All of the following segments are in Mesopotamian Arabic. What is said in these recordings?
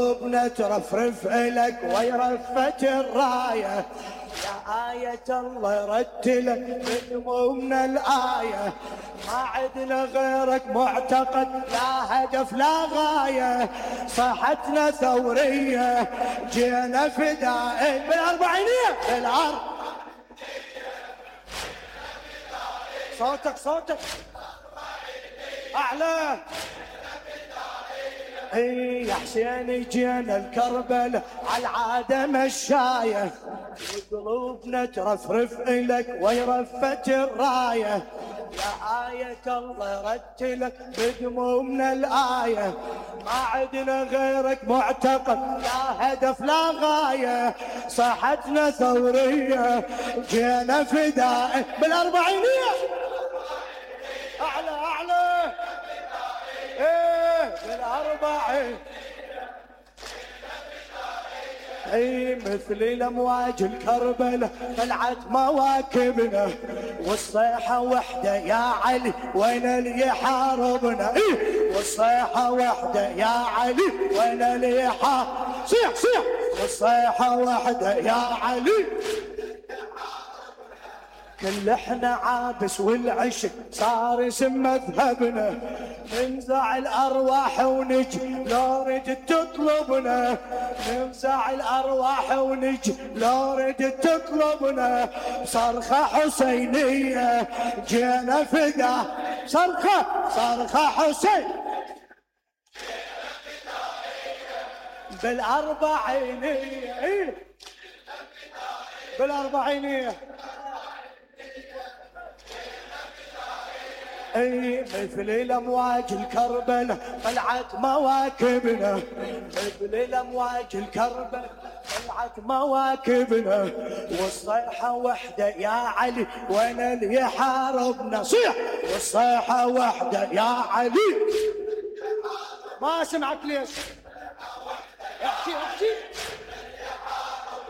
قلوبنا ترفرف إلك ويرفت الراية، يا آية الله رتلك بدمومنا الآية، ما عدنا غيرك معتقد لا هدف لا غاية، صحتنا ثورية جينا فدائي بالأربعينية بالأرض. صوتك أعلى. يا حسين جينا الكربل عالعادة مشاية، وقلوبنا ترفرف إلك ويرفت الراية، يا آية الله رتلك بدمومنا الآية، ما عدنا غيرك معتقد لا هدف لا غاية، صحتنا ثورية جينا فدائي بالأربعينية. أعلى بالأربعين. مثل الأمواج الكربلة طلعت مواكبنا، والصيحة وحدة يا علي وين اللي يحاربنا، والصيحة وحدة يا علي وين اللي يحاربنا، صيح والصيحة وحدة يا علي. كل احنا عابس والعشق صار اسم مذهبنا، ننزع الارواح ونجي لو ردت تطلبنا، ننزع الارواح ونجي لو ردت تطلبنا، صرخة حسينية جينا فدا، صرخة حسين بالأربعينية بالأربعينية. مثل الأمواج الكربلة طلعت مواكبنا، مثل الأمواج الكربلة طلعت مواكبنا، والصيحة وحدة يا علي وين اللي يحاربنا، صيح والصيحة وحدة يا علي. ما سمعت ليش؟ احكي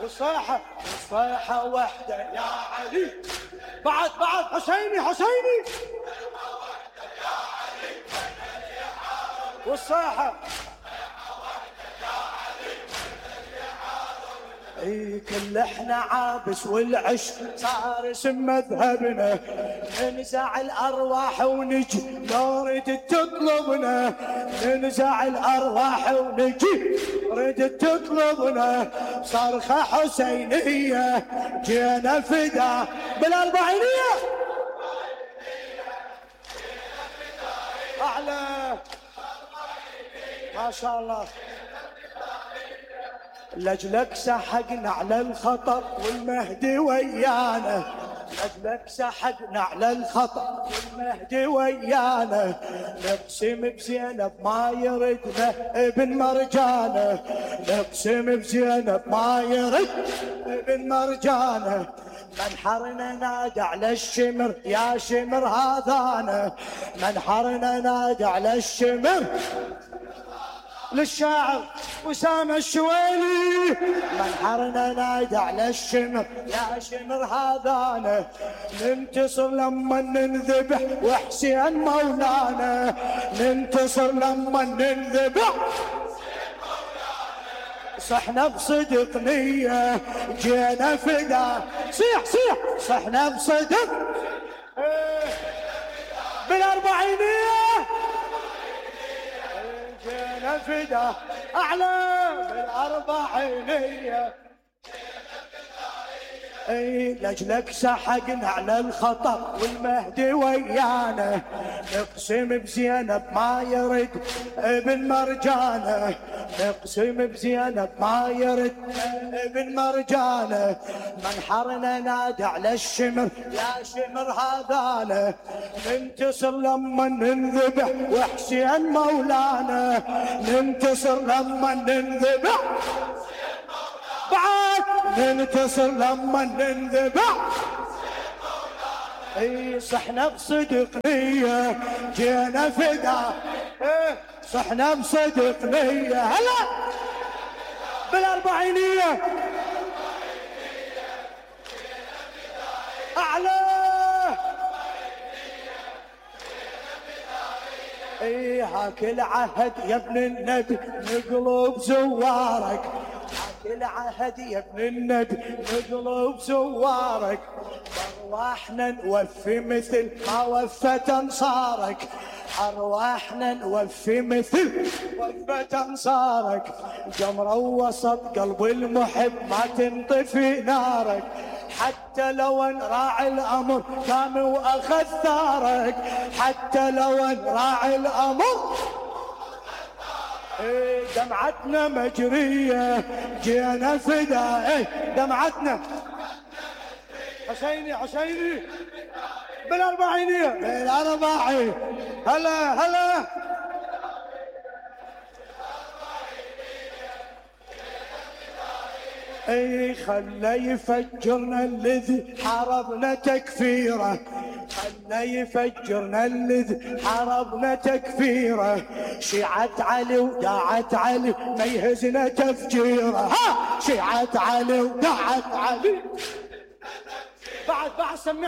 والصيحة وحدة يا علي. بعد حسيني والصاحة. كل احنا عابس والعشق صار اسم مذهبنا، ننزع الارواح ونجي لو ردت تطلبنا، ننزع الارواح ونجي ردت تطلبنا، صرخة حسينية جينا فدا بالأربعينية. أعلى ما شاء الله. لجلك سحقنا على الخطر والمهدي ويانا، لجلك سحقنا على الخطر والمهدي ويانا، نقسم بزينب ما يردنا ابن مرجانه، نقسم بزينب ما يرد ابن مرجانه، منحرنا نادى على الشمر يا شمر هذانا، منحرنا نادى على الشمر. للشاعر وسام الشويلي، منحرنا نادى على الشمر يا شمر هذانا، ننتصر لما ننذبح وحسين مولانا، ننتصر لما ننذبح صحنا بصدق نية جينا فدا، صيح صحنا بصدق بالأربعينية جينا فدا. أعلى بالأربعينية. لجلك سحقنا على الخطر والمهدي ويانا، نقسم بزينب ما يرد ابن مرجانه، نقسم بزينب ما يرد ابن مرجانه، منحرنا نادى على الشمر يا شمر هذانا، ننتصر لما ننذبح وحسين مولانا، ننتصر لما ننذبح بعد، ننتصر لما ننذبح. صحنا بصدق نية جينا فدا، صحنا بصدق نية هلا بالأربعينية. أعلى اكل عهد يا ابن النبي نقلب زوارك، اكل عهد يا ابن النبي نقلب زوارك، ارواحنا نوفي مثل ما وفت انصارك، ارواحنا نوفي مثل وفت انصارك، جمرة وسط قلب المحب ما تنطفي نارك، حتى لو ان راعي الامر قام واخذ ثارك، حتى لو ان راعي الامر دمعتنا مجرية جينا فدا دمعتنا حسيني حسيني بالاربعينية بالاربعين هلا هلا خلى يفجرنا الذي حاربنا تكفيره، خلى يفجرنا الذي حاربنا تكفيره، شيعة علي وداعت علي ما يهزنا تفجيره، ها شيعة علي وداعت علي بعد سمع